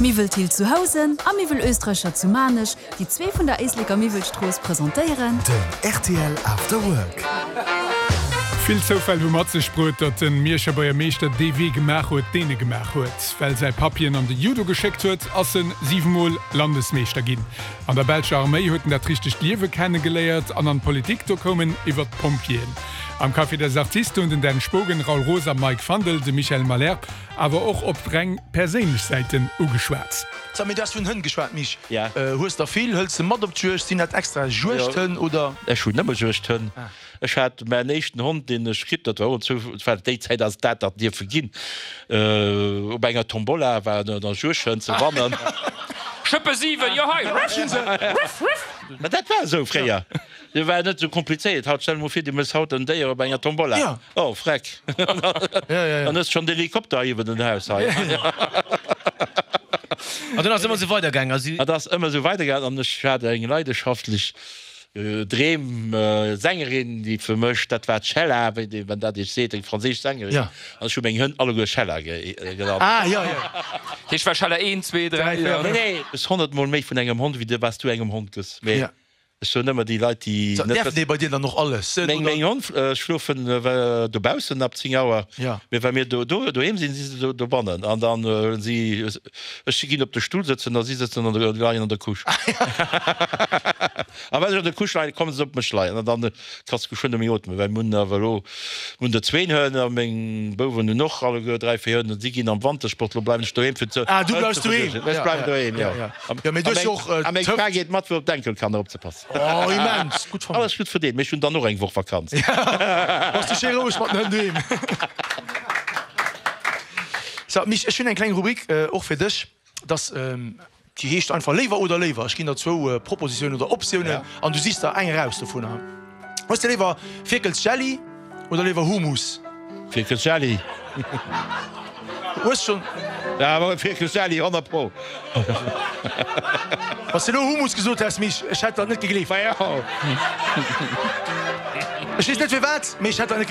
Miwwel Thill zu Housen a Miwwel Österreicher zu Maarnech, déi zwee vun der Éisleker Miwwelstrooss, presentéieren. Den rtl After Work. Vill Zoufäll hu mat sech bruet, datt de Mierscher Buergermeeschter dee Wee gemaach huet, deen e gemaach huet. Well säi Papp hien an de Judo geschéckt huet, ass en 7 Mol Landesmeeschter ginn. An der belscher Arméi huet en dat richtegt Liewe kenne geléiert an an d'Politik, do koum en iwwer d'Pompjeeën. Am Café des Artistes hunn den Dan Spogen, Raoul Roos a Mike Fandel de Michel Malherbe awer och op reng perséinlech Säiten ugeschwat. Sag, mee du has vun Hënn geschwat, Mich. Hues der vill? Hëls de mat op d'Juegd? Sinn dat extra Juegdhënn oder? Ech hunn nëmme Juegdhënn. Ech hat mäin éischten Hond, deen ech kritt, dat war och en Zou, war déi Zäit ass dat dat dierfe ginn, op enger Tombola war en Juegdhënn ze wannen. Schëppe 7, jo hei, ruff, ruff, ruff. Mä dat war esou fréier. Dat war net esou komplizéiert. Haut, stell der mol vir, du méchs haut en Déier op enger Tombola. Oh, freck! Dann hues de schonn d'Helikopter iwwer den Haus hei. An dunn ass et ëmmer esou weidergaangen. Et ass ëmmer esou weidergaangen an ech hat eng leideschaftlech Dreem-Sängerin, déi fir mech, dat war d'Shella, wéi déi, wann dat iech seet, eng franséisch Sängerin. An ech hu meng Hënn alleguer Shella genannt. Dat heescht, war Shella 1, 2, 3, 4? Nee, nee, du hues honnertmol méi vun engem Hond, wéi du, wat s du engem Hond gëss. Mee Ech soen ëmmer déi Leit déi net Däerfen déi bei dir dann och alles? Meng meng Honn schlofen dobaussen ab 10 Auer, mee wa mir do doheem sinn, si se dobannen an dann huelen si ech ginn op de Stull sëtzen a si sëtzen an der leien an der Couche. A wann ech an der Couche leien, kommen se op mech leien an dann kanns de geschwënn nëmme ootmen, well mir hunn awer elo mir hunn der zwéin Hënn a meng Bouwen hunn och alleguer 3, 4 Hënn an si ginn am Wantersport, elo bleiwen ech doheem fir ze Ah du bleifs doheem? Ech bleiwen doheem, jo. Jo, mee du hues jo och A meng Fra geet mat fir op d'Enkelkanner opzepassen. Oh, immens gutt Famill. Alles gutt verdeelt, mee ech hunn dann och eng Woch Vakanz. Bass du schéi roueg mat den Hënn doheem. So, Mich, ech hunn eng kleng Rubrik och fir dech, dass, déi heescht einfach Léiwer oder léiwer. Ech ginn der zwou Propositiounen oder Optiounen an du sichs der eng eraus dovunner. Hues de léiwer Fierkelsjelli oder léiwer Humus? Fierkelsjelli. Hues schon? Ja, awer Fierkelsjelli, 100 pro. Wanns de elo Humus gesot häss, Mich, ech hätt der net gegleeft. Ma jo. Ech weess net firwat, mee ech hätt der net.